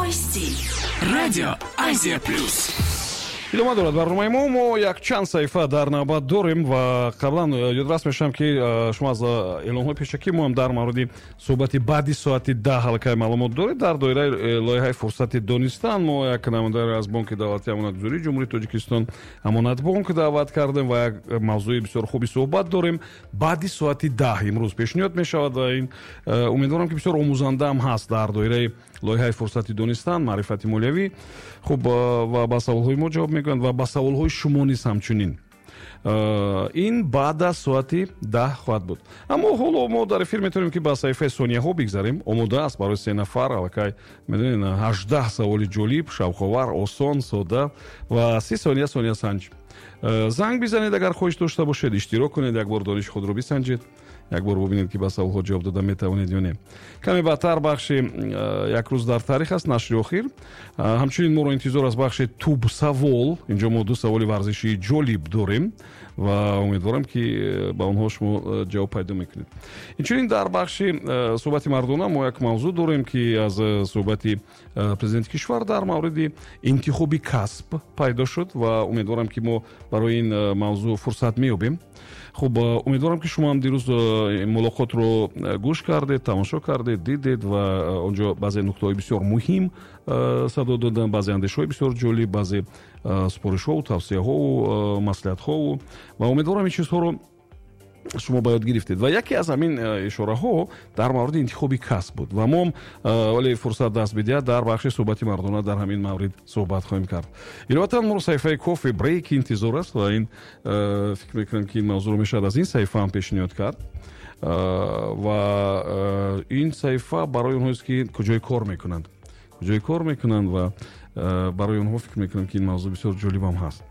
Новости. Радио Азия Плюс. Идома дорад барномаи мо. Мо якчанд саҳифа дар навбат дорем ва қаблан ёдрас мешавам, ки шумо аз эълонҳои пешакӣ мо ҳам дар мавриди суҳбати баъди соати 10 аллакай маълумот доред. Дар доираи лоиҳаи «Фурсати донистан» мо як намояндаро аз Бонки давлатии амонатгузории Ҷумҳурии Тоҷикистон, Амонатбонк, даъват кардем ва як мавзӯи бисёр хуби суҳбат дорем. Баъди соати 10 имрӯз пешниҳод мешавад ва ин умедворам, ки бисёр омӯзандаам ҳаст дар доираи лоиҳаи «Фурсати донистан», маърифати молиявӣ. Хуб, ва ба саволҳои мо ҷавоб мегӯянд ва ба саволҳои шумо низ ҳамчунин. Ин баъд аз соати 10 хоҳад буд. Аммо ҳоло мо дар эфир метавонем, ки ба саҳифаи сонияҳо бигзарем. Омода аст барои се нафар аллакай, медонед, 18 саволи ҷолиб, шавқовар, осон, сода ва 30 сония сониясанҷ. Занг бизанед, агар хоҳиш дошта бошед, иштирок кунед, як бор дониши худро бисанҷед, як бор бубинед, ки ба саволҳо ҷавоб дода метавонед ё не. Каме баъдтар бахши «Як рӯз дар таърих» аст, нашри охир. Ҳамчунин моро интизор аз бахши «Тубсавол». Инҷо мо ду саволи варзишии ҷолиб дорем ва умедворам, ки ба онҳо шумо ҷавоб пайдо мекунед. Инчунин дар бахши «Суҳбати мардона» мо як мавзӯъ дорем, ки аз суҳбати президенти кишвар дар мавриди интихоби касб пайдо шуд, ва умедворам, ки мо барои ин мавзӯъ фурсат меёбем. Хуб, умедворам, ки шумо ҳам дирӯз мулоқотро гӯш кардед, тамошо кардед, дидед ва он ҷо баъзе нуктаҳои бисёр муҳим садо доданд, баъзе андешаҳои бисёр ҷолиб, баъзе супоришҳову тавсияҳову маслиҳатҳову, ва умедворам, ин чизҳоро шумо ба ёд гирифтед. Ва яке аз ҳамин ишораҳо дар мавриди интихоби касб буд ва мо, вале фурсат даст бидиҳад, дар бахши «Суҳбати мардона» дар ҳамин маврид суҳбат хоҳем кард. Иловатан моро саҳифаи «Кофе брейк» интизор аст ва ин фикр мекунам, ки ин мавзӯъро мешавад аз ин саҳифа ҳам пешниҳод кард. Ва ин саҳифа барои онҳоест, ки куҷое кор мекунанд, куҷое кор мекунанд, ва барои онҳо фикр мекунам, ки ин мавзӯъ бисёр ҷолибам ҳаст.